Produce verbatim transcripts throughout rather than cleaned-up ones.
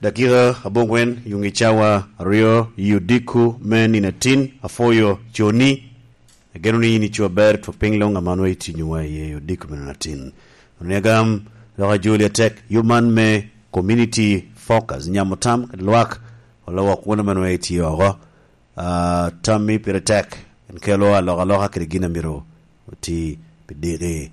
Dakika aboŋwen yuŋ i cawa aryo i odiko me nino atin. Apwoyo coni. Ageno ni in ico aber twok piny luŋ aman wa itinyowa iye i odiko me nino atin. Onegam lok ajoli atek yub man me community focus nyamo tam kede lwak olawok won aman wa itye oko. Ah, tammi pire tek en kelo alokaloka kede gin amito oti pi diki.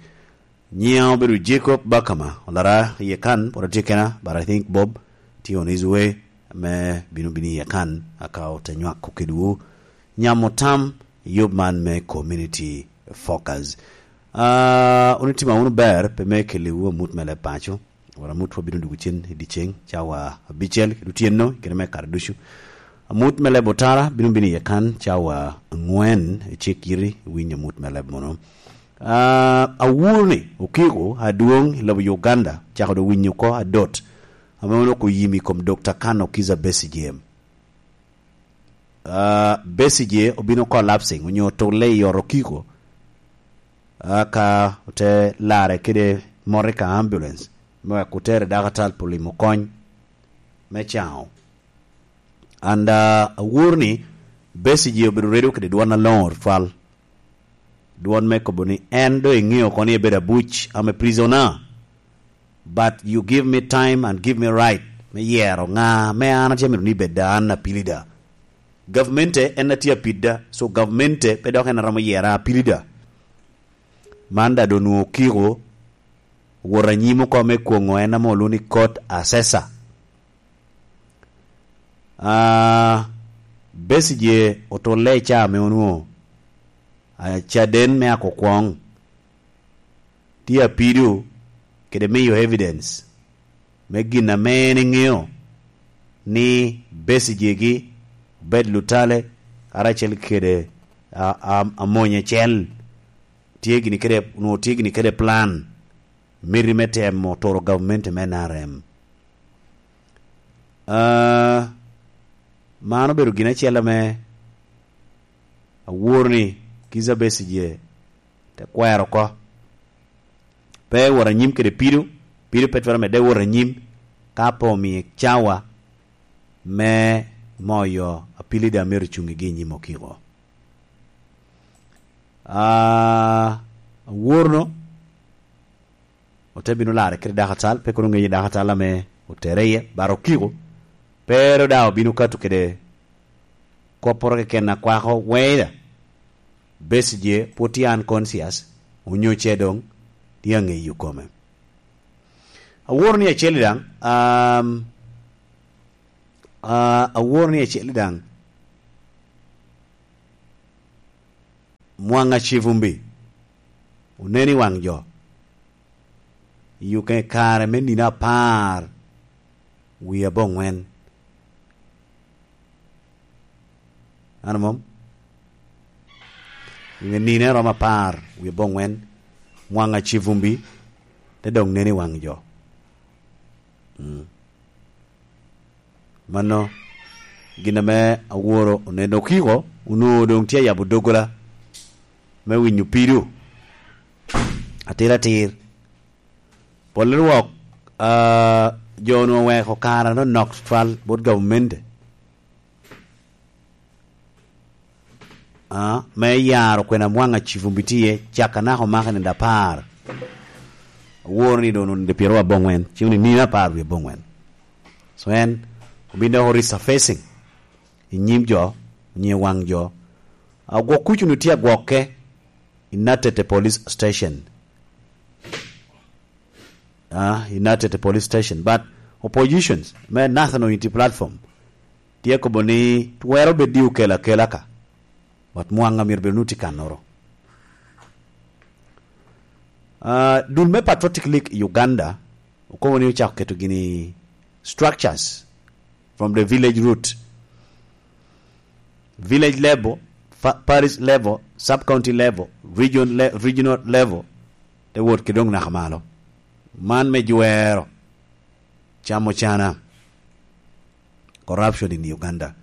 Nyiŋa obedo Jacob Bakama, olara iye kan, pwod atye kena, but I think Bob tye on his way me bino bino iye kan, aka ote nywako kedwu nyamo tam i yub man me community focus. Ah, wun itima wunu ber, pe me keliwu amut me leb paco. Wara amut wa bino dwogo cen i dyeceŋ, cawa abicel kede otyeno, i kene me kare ducu. Amut me leb otara bino bino iye kan, cawa aŋwen, i cik yiti, winyo amut me leb mono. Ah, awuro ni okiko adwoŋ i lobo Uganda, cako dok winyo oko adot, ame onoko oyim i kom Dokta Kano Kiza Besigye. Ah, Besigye obino collapsing, onyo otulle i ot okiko. Ah, ka ote lare kede motoka ambulance, me wek otere dakatal pi limo kony me caŋo. And, ah, awuro ni Besigye obedo redo kede dwon aloŋo tutwal. Dwon me kobo ni en doŋ eŋeo oko ni ebedo abuc, I'm a prisoner. But you give me time and give me right me yero ŋa me an atye amito ni bed da an apilida. Gavmente en atye apidda, so gavmente pe dok en aromo yera apilida. Man da doŋ nwoŋo okiko wot anyim oko me kwoŋo en ame olwoŋo ni court assessor. Ah, Besigye otulle i caa ame onwoŋo, ah, caden me akokwoŋ tye apido kede miyo evidence me gin ame en eŋeo ni Besigye-gi obed Lutale karacel kede, a, a, Amony acel tye gini kede, onwoŋo tye gini kede plan miti me temo turo gavumenti me N R M. Ah, man obedo gin acel ame awor ni Kizza Besigye te kwero oko. Pe wot anyim kede pido, pido pe twero medde wot anyim, ka pe omie cawa me moyo apilida myero ocuŋ i gi nyim okiko. Ah, aworno ote bino larre kede dakatal, pe kono ŋeyo dakatal ame otere iye, but okiko, pe ro daŋ obino kato kede kopporo keken akwako, whether Besigye pwod tye unconscious, onyo ce doŋ tye aŋeyo kome. Awor ni acel daŋ, um, ah, awor ni acel daŋ, Mwanga Kivumbi onen i waŋ jo. I okenge kare me nino apar wie aboŋwen. An mom? I nino romo apar wie aboŋwen, Mwanga Kivumbi te doŋ nen i waŋ jo. Mm. Mano gin ame aworo oneno okiko, onwoŋo doŋ tye ayabo doggola me winyo pido atir atir. Pol i rwok, ah, jo onwoŋo oweko kare anonok tutwal bot gavumenti. Ah, me yaro kwena Mwanga Kivumbi tye, caka naka omako nino apar. Aworo ni doŋ nino pyeraryo aboŋwen, cen ni nino apar wie aboŋwen. So en obin dok resurfacing i nyim jo, onyo i waŋ jo. Agwok kuc onwoŋo tye agwokke i Natete Police Station. Ah, i Natete Police Station. But oppositions, me National Unity Platform, tye kobo ni twero bed ni okel akela ka. But Mwanga myero bed ni tye kannoro. Ah, dul me Patriotic League i Uganda okobo ni ocako keto gini structures from the village root. Village level, fa-, parish level, sub-county level, region le-, regional level, te wot ki doŋ naka malo. Man me jwero camo cana, corruption in Uganda.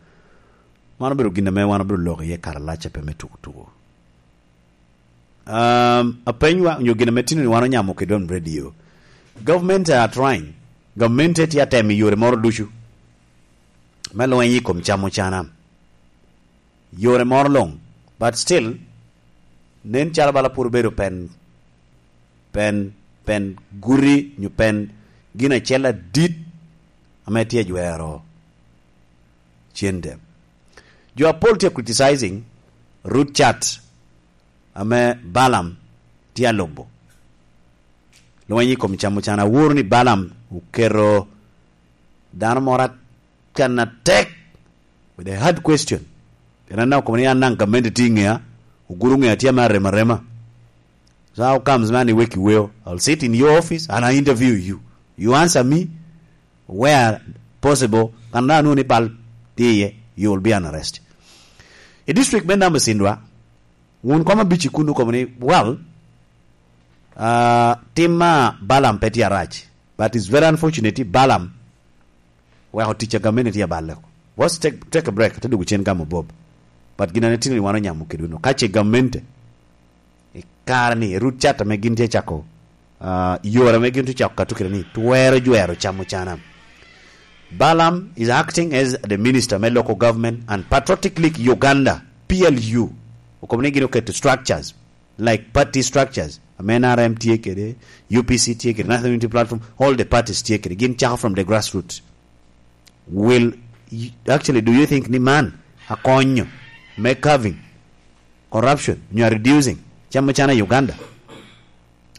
Man obedo gin ame wan obedo lok iye kare alac ape me tuko tuko. Um, apenywa, onyo gin ame tino ni wan onyamo kede on radio. Government are trying. Government tye atemo i yore moro ducu. me lweny i kom cam ocana. Yore moro luŋ, but still, nen calo bala pwod obedo pen, pen, pen guti nyo pen gin acel adit ame tye ajwero cente. Jo apol tye criticizing root chart ame Balaam tye alubo. Lweny i kom cam ocana, aworo ni Balaam oketo dano moro kan atek with a hard question. Pien an daŋ okobo ni an daŋ gamente tye i ŋea, oguro ŋea tye ame arem arema. So how comes man iwek iweo? I'll sit in your office and I interview you. You answer me where possible, kan daŋ anwoŋo ni bal tye iye, you will be an arrest. I district me Namucindwa, wun kom abic i kun okobo ni, well, uh, tim ma Balaam pe tye arac, but it's very unfortunate ni Balaam weko tic a gamente tye aballe oko. Let's take, take a break, ate dwogo cen gamo Bob. But gin ane tino ni wan onyamo kedweno. Ka ce gamente, i kare ni, i root chart ame gin tye cako, uh, yore ame gin tye cako kato kede ni, twero jwero cam ocana. Balaam is acting as the minister me local government and Patriotic League Uganda, P L U. Okobo ni gin oketo structures, like party structures, ame N R M tye kede, U P C tye kede, National Unity Platform, all the parties tye kede, gin cako from the grassroots. Will y-, actually, do you think ni man akonyo me curving corruption, nyo reducing cam ocana i Uganda?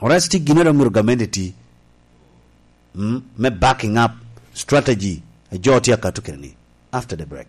Or else ti gin ero myero gamente ti, mm, me backing up strategy a jo tye akato kede ni. After the break.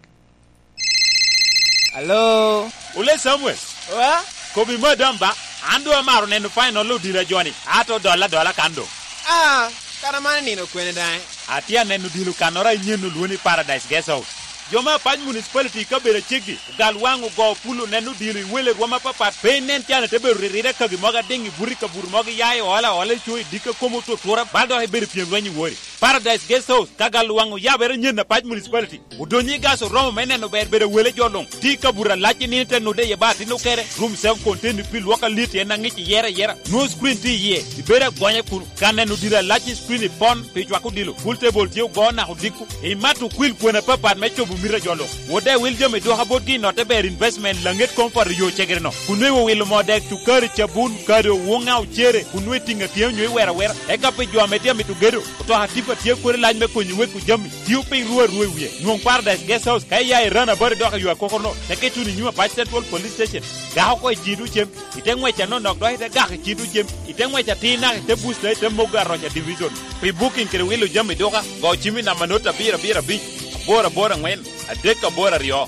Hello. Ole Samuel. Wa? Kobi madam ba, an doŋ amaro neno final odilo a joni, ato dola dola kan doŋ. Ah, kara man nino kwene daŋ? Atye aneno odilo kannoro a nyen olwoni Paradise Guest House. Jo me Apac Municipality i kabedo aceggi, ogal waŋ ogo pul oneno odilo i wele rwom apapat, pe inen can ite bedo ririre kagi mogo adiŋ i buti kabuto mogo iya i ola ola i co i dikka kom otutura, bal dok ibedo pyem lweny i wori. Paradise Guest House, ka gal waŋ oyabere nyen Apac Municipality. Odonyo i gas oromo me neno ber bedo wele jo luŋ. Ti ka bura lac i nino te nude i ba atino kere, room self contained pi lwok alit en aŋic i yere yera. Nwo screen ti iye, ibedo agonya kun. Ka neno dira lac i screen i pon, pi cwako dilo. Pool table tye ogo nako dikku. Imato kwil kwena papat me cobo mita jo luŋ. Wode wil jami dwoka botgi i notte ber investment laŋet comfort yo cegere no. Kun nwe wilo mo dek cukari cabun, kado, woŋa ocere, kun nwe tiŋa tye onyo i wera wera. Eka pi jo ame tye amito gedo, otoka tipa tye kodi lac me konyo weko jami. Tio piny rwo arwo i wie. Nwoŋ Paradise Guest House ka iya i Rana Bari dok i yo akoko no, teke tuno i nyim Apac Central Police Station. Gako oko i cito cem, ite ngwec anonok dok ite gako i cito cem, ite ngwec atir naka ite busta ite mogo aroca division. Pi booking kede wilo jami duka, go cim i namba not abiro abiro abic, aboro aboro angwen, adek aboro aryo.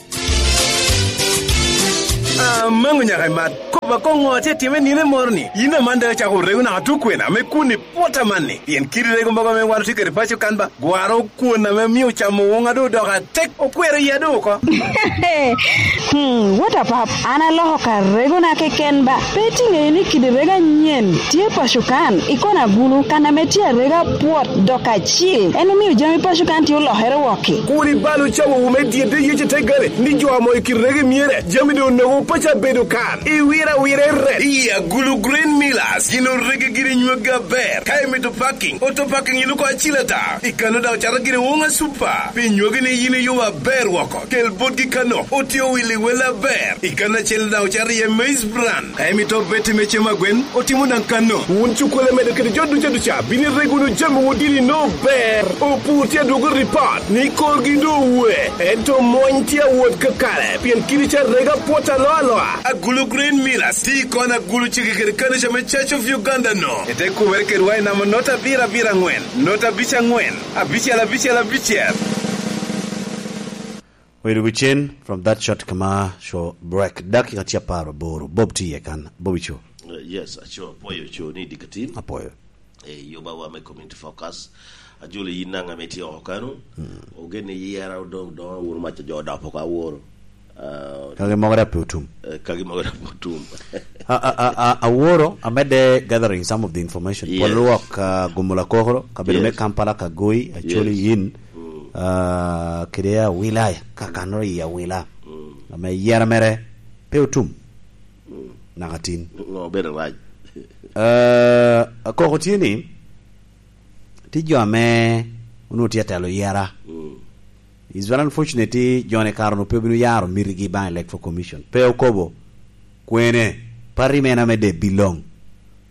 Amaŋo nyaka imat. Kop akoŋo atye time nino moro ni? Yin aman daŋ acako rego naka tukwena me kun i pwot amanni. Pien kidi rego mogo ame wan otye kede paco kan ba, gwaro kwon ame mio camo woŋa doŋ odoko atek, okwero iya doŋ oko. Hmm, what a pap. An aloko ka regona keken ba. Pe itiŋe ni kidi rego anyen tye paco kan, i kona gulu, kan ame tye arega pwot dok acil. En omio jami paco kan tye olokere wokki. Kur ibal ocawo wu me dyedde yece te gare, ni jo amo i kit rege myere, jami doŋ onogo paco abedo kan. Iwira awira i ret. I Agulu Grain Millers, gin orege giri nywagi aber. Ka imito parking, auto parking iluko acil ata. I kano daŋ ocato giri Wonga Super. Pi nywagi ni yin iyubo aber woko. Kel botgi kano, otye owil i wel aber. I kano acel daŋ ocato iye maize bran. Ka imito beti me cem agwen, otimo daŋ kano. Wun cukkulu amedo kede jo duca duca, bino irego wunu jami wun dini no ber. Opur tye adwogo ripot ni korgi doŋ owe. Ento mony tye awot kakare, pien kidi ca rega pwot aloa aloa. Agulu Grain Millers, ti kon agulu cege kede kanica me Church of Uganda no. Ete kumere kedwa i namba not abiro abiro angwen, not abic angwen, abicel abicel abicel. Oido wi cen from that shot kama show break. Dakika tye apar aboro. Bob tye iye kan. Bob ico. Uh, yes, aco, apoyo co ni dikatin. Apoyo. Eh, yoba wa me community focus. Ajolo yin nanga me tye oko kanu. Mm. Ogen ni yera odong, donga wuru maca jo dapo ka woro. Uh, kagi mogo da pe otum. Eh, kagi mogo da pe otum. A, a, a, a, aworo, amedde gathering some of the information. Yes. Pol lwok, uh, Gumula Kokoro, kabedo me Yes. Kampala, Kagoi, Acholi Yes. Yin. Mm. Ah, kede awila, ka kanoro i awila. Mm. Ame yera mere pe otum. Mm. Naka tin. Ngo obedo rac? Ah, akoko tye ni, ti jo ame onwo tye atelo yera. Mm. It's very unfortunate ni jone kare-nu pe obino yaro mitigi baŋ Electoral Commission. Pe okobo kwene, party mene ame de belong.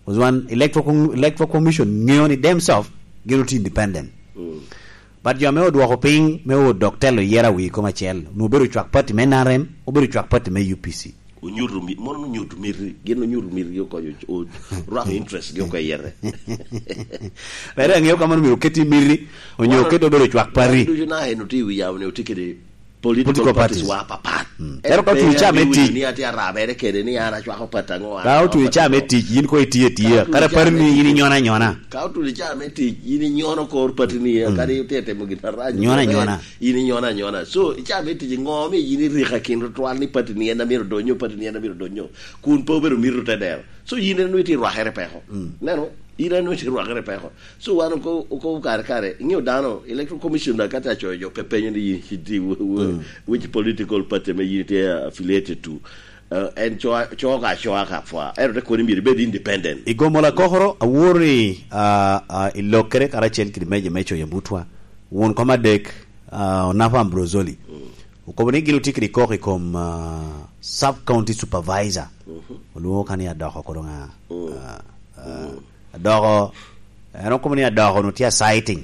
Because wan Electoral Com-, Electoral Commission ŋeo ni themselves gin otye independent. Mm. But jo ame odwoko piny me odok telo yera wi kom acel, nu obedo cwak party me N R M, obedo cwak party me U P C. Onyuto mi-, mono onyuto miti, gin onyuto miti gi oko, o-, o-, rwako interest gi oko i yete. Lere aŋeo ka mono myero oketi miti, onyo oketi obedo cwak party. Ducu na en otye i wi yamo ni otye kede political parties wa papat. Mm. Ero ka otye i caa me tic, ni atye arabere kede ni an acwako party aŋo, an ka otye i caa me tic, yin ko itye atiya. Kara party ni yin inyona anyona. Ka otye i caa me tic, yin inyono kor party ni, mm, kadi itye temo gin arac. Nyona anyona. In inyona anyona. So, i caa me tic, ŋo mi yin iriko akin tutwal ni party ni en amiro donyo, party ni en amiro donyo? Kun pe obedo mito te dero. So, yin en itye rwakere peko. Mm. Neno, yin en itye rwakere peko. So, wan oko-, okobo kare kare, iŋeo dano, Electoral Commission da ka te acoyo jo pe penyo ni yin itye w-, w-, mm, which political party me yin itye affiliated to. Uh, en co-, co ka coa ka pwa. Ero te koni myero ibed independent. I gomo lakokoro, aworo ni, ah, ah, i lokere karacel kede meja me coyo butwa, won kom adek, ah, Onapo Ambrosoli. Mm. Okobo ni gin otye kede kok i kom, ah, sub county supervisor. Mhm. Olwoŋo ka ni Adoko kodo ŋa? Mm. Ah, ah, mm. Adoko, en okobo ni Adoko nu tye a citing.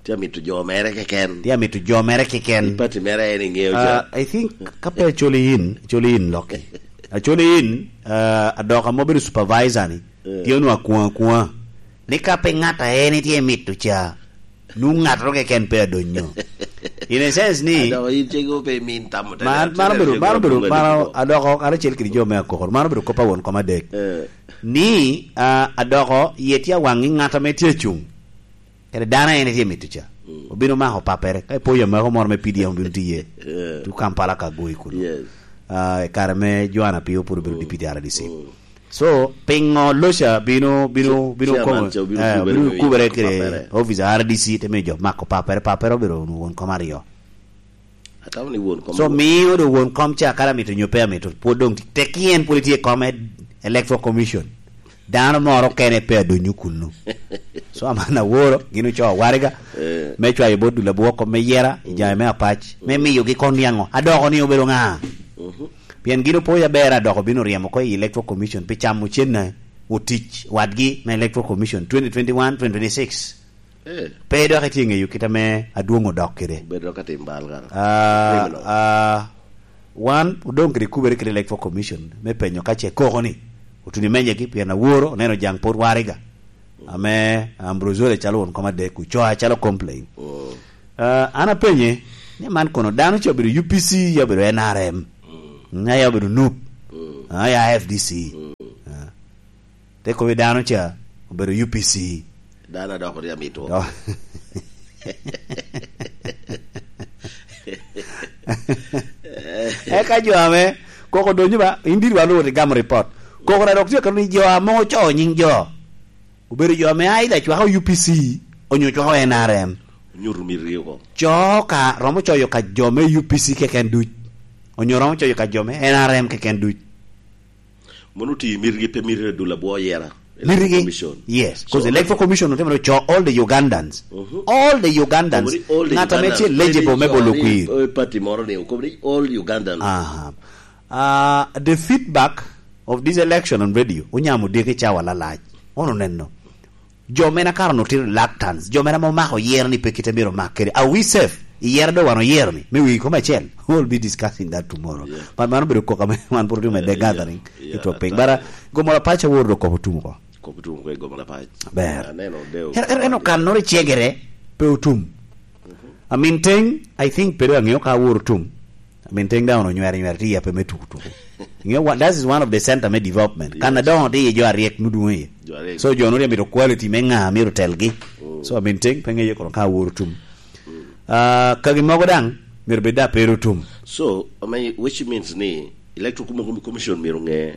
Tye amito jo mere keken. Tye amito jo mere keken. I party mere en iŋeo ca. Ah, I think ka pe acoli in, acoli in Loki. Acoli in, ah, Adoko ame obedo supervisor ni, eh, tye onwa akuŋ akuŋa. Ni ka pe ŋat a en itye mito ca, nu ŋattoro keken pe adonyo. In a sense ni, Adoko in cego pe imin tamo te man, man obedo, man obedo, man Adoko karacel kede jo me akokoro. Man obedo kop a won kom adek. Eh. Ni, ah, Adoko yie tye awaŋ i ŋat ame tye acuŋ. Kede dano en itye mito ca. Mm. Obino mako papere. Ka ipoyo amako moro me P D M obino tiye. Yeah. Tu Kampala ka goyi kuno. Yes. Ah, i kare me Joanna Pio pud obedo, mm, deputy R D C. Mm. So, pingo Loca bino, bino, bino chairman kono, ca obino, eh, kubere, obino kubere kede papere. Office R D C te miyo jo mako papere, papere obedo won kom aryo. Atamo ni won kom. So, miyo do won kom ca kara amito nyo pe amito, pwod dong tek en pwod itye i kom ed-, Electoral Commission. Dano moro kene pe adonyo kunnu. So, aman aworo, gin ocoo waraga, eh, me cwayo bot dul abwoko me yera, i jami me apac, me, mm, miyogi koŋ niaŋo. Adoko ni obedo ŋa? Mhm. Pien gin opoyo aber Adoko bino ryemo oko i Electoral Commission pi camo cenne otic wadgi me Electoral Commission twenty twenty-one, twenty twenty-six. Eh. Pe dok itye ŋeyo kit ame adwoŋ odok kede. Bedo ka tim bal kara. Ah, criminal. Ah, wan odoŋ kede kubere kede Electoral Commission me penyo ka ce koko ni otuni menyegi pien aworo oneno jaŋ pwod waraga. Ame Ambrosoli calo won kom adek, ocoa calo complain. Mm. Ah, an apenye ni man kono dano ce obedo U P C, ya obedo N R M, mm, ya obedo nup, mm, ah, ya F D C. Mm. Ah. Te kobo dano ca obedo U P C. Dano adoko tye amito. Do-, eka jo ame koko donyo ba, in diri wa lworo ti gamo report. Koko na dok tye ka ni jo ame ocoo nying jo. Obedo jo ame either cwako U P C, onyo cwako N R M. Onyuto miti oko. Coo ka, romo coyo ka jo me U P C keken duc. Onyo romo coyo ka jo me N R M keken duc. Mono oti mitigi pe mito dul abwo yera. Mitigi? Electoral Commission. Yes, 'cause so, Electoral Commission otimere co all the Ugandans. Mhm. All the Ugandans. Okobo ni all the Ugandans. Ng'at ame tye eligible me bolo kwir. Eh, party moro ni, okobo ni all Ugandans. Aha. Ah, the feedback of this election on radio, onyamo diki cawa lalac. Ono neno. Jo mene akaro no tye reluctance. Jo mene ame omako yero ni pe kite myero omak kede. Are we safe? I yero do wan oyero ni. Me wii kom acel. We'll be discussing that tomorrow. Yeah. But mano bedo kok ame wan puro timo the gathering. Yeah, yeah, yeah, itwok piny. But, uh, gomo la pacha wor do kop otum ko. Kop otum ko gomo la pacha. Ber. Aneno deo. Her, her, eno kan nore chegere pe otum. Mhm. I mean, thing, I think, pero ang'eyo ka wor otum. I mean, thing down onywere, nywere, ti yape me tuku tuku. You know what? That is one of the center me development. Yes. Kan adongo ti ye jo aryek nudungo ye. Jo aryek. So, jo nuri amito quality me nga, amito telgi. Mm. So, I mean, thing, pe ng'eyo kono ka wor otum. Mm. Ah, kagi mogo dang, myero bed da pero otum. So, I mean, which means ni, Electoral Commi-, Commission myero ng'e,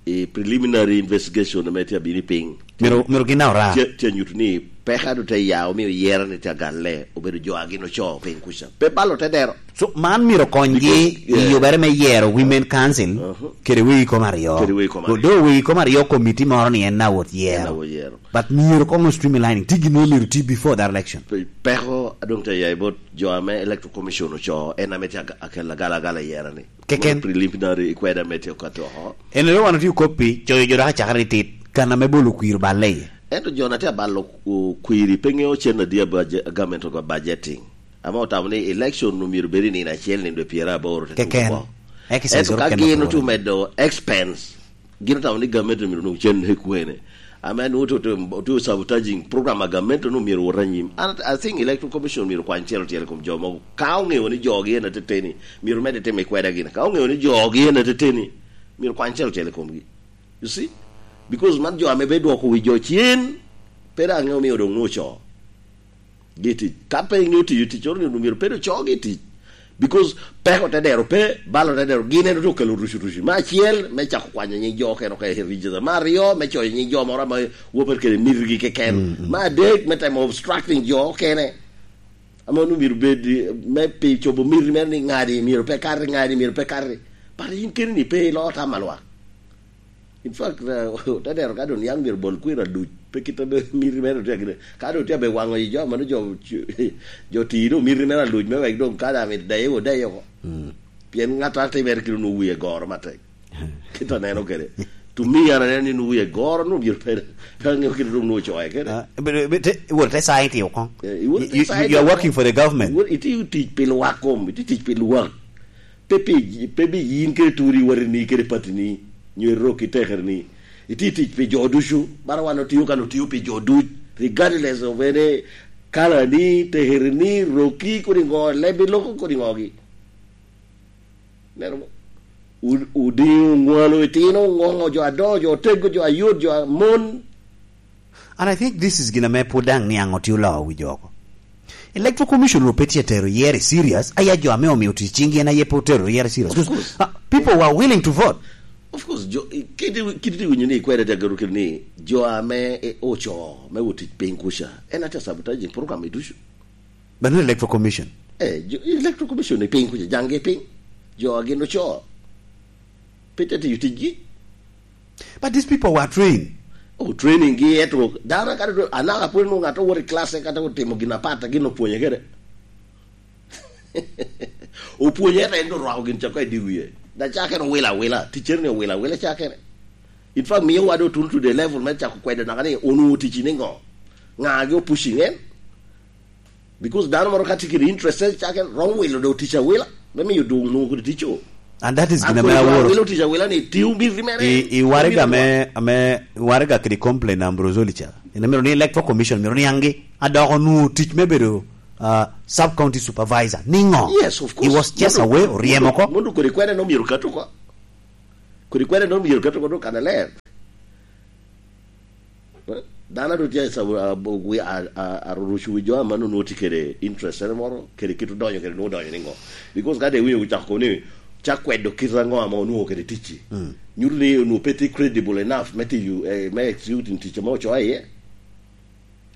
i preliminary investigation ame tye abino i piny. Myero, myero gin daŋ ora. Tye, tye nyuto ni peko a doŋ te ya omio yero ni tye agalle, obedo jo a gin ocoo piny kuca. Pe balo te dero. So, man myero konygi Because, yeah. i yubere me yero Women Council Uh-huh. kede wegi kom aryo. Kede wegi kom aryo. Do wegi kom aryo komiti moro ni en na wot yero. En na wot yero. But myero koŋ streamlining, ti gin myero ti before that election. Pe-, peko a doŋ te ya i bot jo ame Electoral Commission ocoo, en ame tye aga-, akel agalagala i yero ni. Keken. Preliminary ikweda me tye okato oko. En ero wan otye okoppi, coyo jo dok acakere ni tit, kan ame bolo kwir oballe iye. Ento jo na tye abalo, uh, kwiri pe ŋeo cen adi a budget, government of budgeting. Ame otamo ni election omyero bed i nino acel, nino dwe pyeraboro te Keken. tuko oko. Exercise Ento oro ka kende gin otuno otuno medo expense, gin otamo ni government omyero onwoŋ cen i kwene. Ame nwoŋo otuno, otuno sabotaging program a government onwoŋo myero wot anyim. And I think Electoral Commission myero kwany cel ocel i kom jo mogo. Ka oŋeo ni jogi en ateteni, myero medde timo i kweda gin. Ka oŋeo ni jogi en ateteni, myero kwany cel ocel i komgi. You see? Because man jo ame be dwoko wi jo cen, pe daŋ ŋeo omio doŋ nwoŋo ocoo gi i tic. Ka pe ŋeo tiyo tic, oro ni myero pe doŋ coogi i tic. Because peko te dero pe, balo te dero, gin en ote okelo rucu rucu. Me acel, me cako kwanyo nying jo okene oko i register. Me aryo, me coyo nying jo moro ame wopere kede mitigi keken. Mm, mm. Me adek, me temo obstructing jo okene. Ame onwoŋo myero bed, me pi cobo miti mere ni ŋadi myero pe kati, ŋadi myero pe kati. But in keni ni pe iloo tam a lwak. In fact, uh, te dero ka doŋ niaŋ myero bol kwir aluc, pe kit ame miti mere otye akine. Ka doŋ tye abe waŋo i jo, mano jo, jo ti doŋ miti mere aluc me wek doŋ ka daŋ mit deye wo, deye oko. Mm. Pien ŋat a timere kite onwoŋo wie goro matek. Kit aneno kede. To me, an aneno ni onwoŋo wie goro, onwoŋo myero pe, pe aŋeo kite doŋ onwoŋo coye kede. Ah, but, but, te, iwor te sign ti oko. Eh, iwor te You, you, sign you are oko. Working for the government. Iwor, itiyo tic pi lwak kom, itiyo tic pi lwak. Pe pi, pe bi yin kede turi, watini kede patini, nyo irok i tekerini. Itye tic pi jo ducu, bara wan otio kan otio pi jo duc, regardless of any color ni, tekerini, roki, kodi ŋo, lebi loko, kodi ŋogi. Neno mo? U-, odiŋo, oŋwalo, itino, oŋoŋo, jo adongo, jo otego, jo ayot, jo amon. And I think this is gin ame pwod daŋ niaŋ otye oloo wi jo oko. Electoral Commission onwoŋo pe tye tero yero i serious, aya jo ame omio tic cinggi en aye pe otero yero i serious. Of course. Uh, people were willing to vote. Of course, jo, i-, kit i-, kit itye winyo ni ikwede te gero kit ni, jo ame, e, ocoo me wot tic piny kuca, en atye sabotaging program i ducu. But not Electoral Commission. Eh, jo, Electoral Commission i piny kuca, jaŋgi piny. Jo a gin ocoo. Pe te tiyo ticgi. But these people were trained. Oh, training gi eto, dano kata do, anaka pwod nwoŋo ŋat owoto i class, kata otimo gin apat, gin opwonye kede. Opwonye eto en do rwako gin cako i di wie. Da cakere owila awila, teacher ni owila awila cakere. In fact, miyo wa do tuno to the level me cako kwedo naka ni onwoŋo tic ni ŋo? Ŋa gi opushing en? Because dano moro ka tye kede interest, cake romo wilo do tic awila, me miyo doŋ nwoŋo kede tic o. And that is An gin ame kodi aworo. Awilo tic awila ni tiyo miti mere. I, i waraga me, ame, waraga kede complain Ambrose Olicha. En myero ni Electoral Commission, myero niaŋgi. Adoko nwoŋo tic me bedo, uh, sub county supervisor. Niŋo? Yes, of course. He was just away, oryemo oko. Mondo kodi kwene no myero kato ko. Kodi kwene no myero kato ko do kana ler. Eh? Dano a doŋ tye a, a, a, a, a rucu wi jo a man onwoŋo tye kede interest ene moro, kede kit odonyo kede nwoŋo odonyo ni ŋo. Because ka de winyo ocako kono ni, cak kwedo kit aŋo ame onwoŋo kede ticci. Mm. Nyuto ni onwoŋo pe tye credible enough me tiyo, eh, me executing tic ame ocoo iye.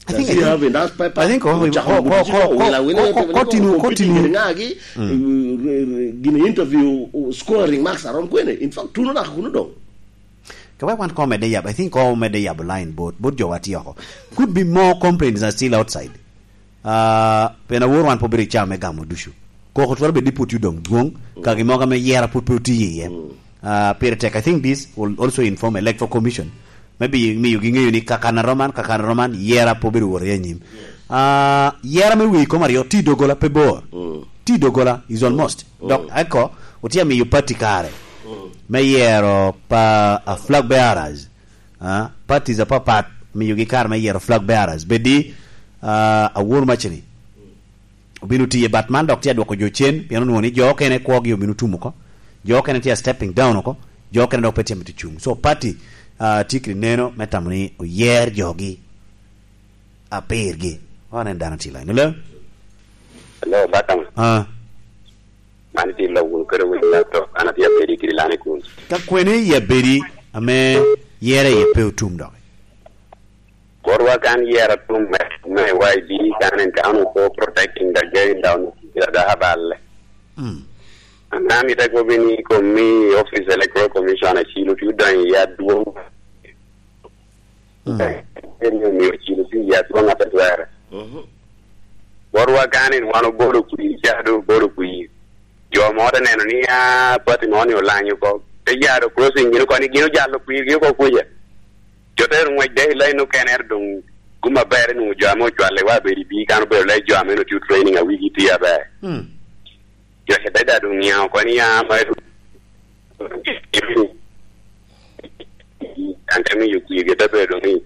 I think, Does he I think, have enough paper? I think, oh, Ocako oh, oh, ticci, oh, oh, wila, wila, oh, wila, oh, wila, continue, competing continue. Kede ŋagi, Mm. eh, re-, re-, gin interview, oh, scoring marks around kwene. In fact, tuno naka kuno doŋ. Ka wek wan koŋ omedde yabo, I think koŋ omedde yabo line bot, bot jo wa tye oko. Could be more complaints are still outside. Ah, pien awor wan pe obedo i caa me gamo ducu. Koko twero bedo ni pwod tye odong dwoŋ, ka gin mogo ame yera pwod pe otiye iye. Mm. Ah, pire tek. I think this will also inform Electoral Commission. Maybe miyo gi ŋeyo ni kakan aroman, kakan aroman, yera pe obedo wot i anyim. Ah, yera me wi kom aryo, tye i doggola pe bor. Mm. Tye i doggola is almost. Mm. Dok eko, otye amiyo party kare. Mm. Me yero pa, ah, flag bearers. Ah, parties apapat, miyogi kare me yero flag bearers. Bedi, ah, awor macini. Obino tiye, but man dok tye adwoko jo cen, pien onwoŋo ni jo okene kwogi obino tum oko. Jo okene tye a stepping down oko. Jo okene dok pe tye mito cung. So party, ah, tye kede neno me tamo ni oyer jogi. Apirgi. Wan en dano tye line. Hello? Hello, Bakam. Ah. Man tye lawun kede winy laptop. An atye abedi kede lani kun. Ka kwene i abedi ame yere iye pe otum dok? Wa kan yero tum me, me Y D kan en kan oko protecting the game down the, the Haballe. Mm. Ana mi te gobi ni komi office Electoral Commission achilo ti udonyo ya dwong. Mm. En ni omiyo chilo pi ya dwong ate twere. Mhm. Botwa kan en wan obolo kwir, cado obolo kwir. Jo mo te neno ni, ah, pati mo ni olanyo oko. Te yaro crossing gin oko ni gin ojalo kwirgi oko kuca. Jo te ngwec de i lain okene ento doŋ kum aber nwoŋo jo ame ocwalle wa bedo i bii kan obedo le jo ame nwoŋo tio training a wigi tye aber. Hmm. Jo te bed a doŋ niaŋ oko ni ya ma an te miyo kwirgi te bedo ni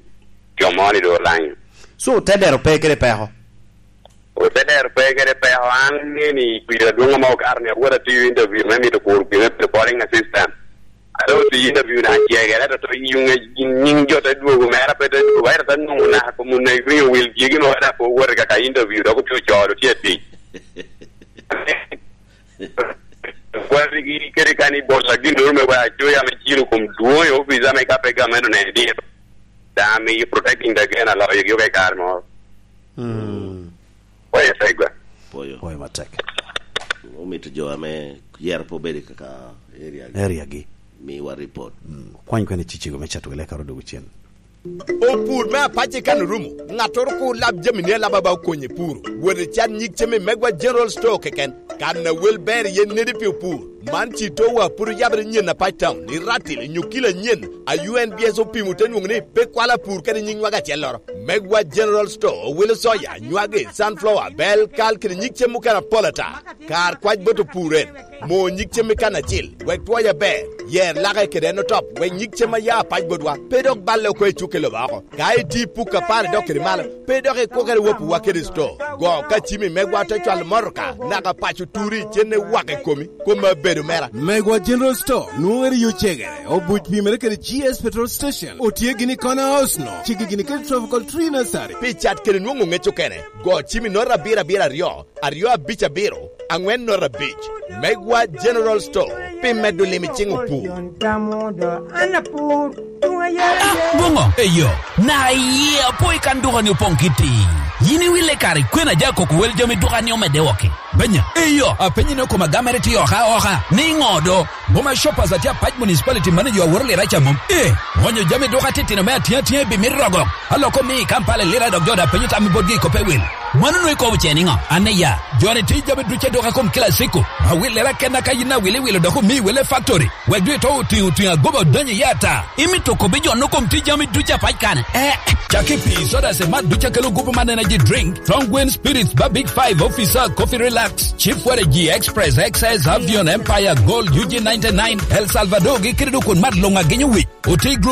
jo mo ni doŋ olanyo. So, te dero pe kede peko? Ote dero pe kede peko, an ni ni kwir adwoŋ ame okato ni awot atiyo interview me mito kuro kwir me bedo polling assistant. Ate otiyo interview na acegere, ento to yuŋe nying jo te dwogo mere, pe te dwogo, ento te nwoŋo naka kom onegri owil gigi mo, ento pe owote kaka interview, dok otye ocoro, tye atic. Kwatigi kede kan i bolla ginnoro me wek acoya me ciro kom dwoŋ i opic ame ka pe gamente oneno dito. Daŋ amiyo protecting the game aloyogi oke kare moro. Mm. Oye tegwa. Pwoyo. Pwoyo matek. Omito jo ame yero pe obedo i kaka area gi. Area gi. Miwa report. Mm. Kwany kwene cicego me cato gile karo dogo cen. Opur me apac i kan orumo, ŋattoro kur lab jami ni alaba ba okonye puro. Wot i can nyig cem i Megwa General Store keken. Kan a wel ber iye nedi pi opur. Man ci towa puro yabere nyen apac town, i Ratil, nyo kilo anyen. A U N B S opimo te nwoŋo ni pe kwalo apur kede nyig nywag acelloro. Megwa General Store owilo soya, nywagi, sunflower, bel, kal kede nyig cem mukene apol ata. Kar kwac bot opur en. Mo nyig cem i kan acil, wek twoye aber. Yer lake kede en otop, wek nyig cem a ya apac botwa pe dok balle oko i cukke lobo oko. Ka iti puk apar idok kede malo, pe dok ikwokere wapuwa kede sto. Go ka cimi megwa te cwalo motoka, naka paco turi, cenne wak i komi, kom abedo mera. Megwa General Store, nwoŋo eri yo cegere, obuc pimere kede G S Petrol Station, otye gini i Corner House no, cigi gini kede Tropical Tree Nursery. Pi cat kede nwoŋo ŋec okene, go cimi note abiro abiro aryo, aryo abic abiro, aŋwen note abic. Megwa General Store, pi medo lim i ciŋ opur. Ah, boŋo, eyo, na iye apo i kan duka ni opoŋ kiti. Yin iwille kare, kwena ja koko wel jami duka ni omedde woki. Benya, eyo, apenyi ni okoma gamere ti oka oka, ni ŋo do? Boma Shoppers atye apac municipality manager aworo lira ca mom. Eh, ŋonyo jami duka titino me atiŋ atiŋ i bimit rogo. Aloko mi i Kampala lira dok jo da penyo tam i botgi i kope wil. Mano nwe kobo ce niŋo? An iya, joni ti jami duce duka kom kila siko. Awil lira kenna ka yin awil iwilo dok omi wele factory. Wek dwe to otiŋo otiŋo agoba odonyo iye ata. Imito kobi jo no kom ti jami duce apac kane. Eh, caki pi soda se mat duce kelo gupu man energy drink. Strong Wind Spirits ba Big Five Officer Coffee Relax. Chief Waragi Express, X S, Avion, Empire, Gold, U G ninety-nine, El Salvador, gi kede dok kun mat luŋ agenyo wic. Oti